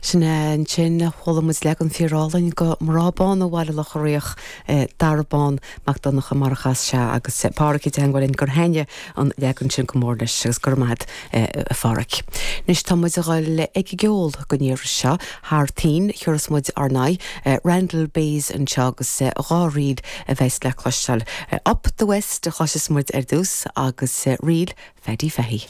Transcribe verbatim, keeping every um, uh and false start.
Sin ansin chuala muid leagan fíorálainn de Mná Bána Bhaile Locha Riach Dara Bán Mac Donncha mar a chas sé agus Pádraig i dteagmháil gur thaitin an leagan sin go mór leis agus go raibh maith agat a Phádraig. Anois tá muid ag dul ag an gceol don iarraidh seo thar toinn chuireas muid ar n-aghaidh Randall Bays anseo agus dhá ríl a bheas le cloisteáil. Up the West a chloisfidh muid ar dtús agus ríl Phaddy Fahy.